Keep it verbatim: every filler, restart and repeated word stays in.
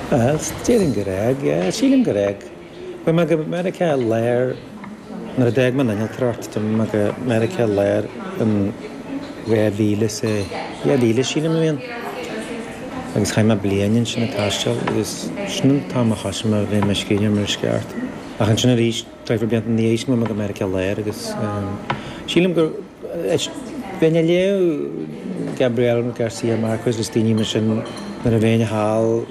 Déarfainn gur fhág, yeah, sílim gur fhág. Chuaigh mé go Meiriceá Láir nuair a d'fhág mé an innealtóireacht d'imigh mé go Meiriceá Láir in dhá mhíle is a dhá mhíle sílim a bhí ann. Agus chaith mé bliain ansin ag taisteal agus sin an t-am a thosaigh mé a bheith i mo scríbhneoir mar is ceart. Ach ansin arís deifir blianta ina dhiaidh sin chuaigh mé go Meiriceá Láir agus sílim gur bheinn ag léamh Gabriel Garcia Marquez is daoine mar sin nuair a bheinn thall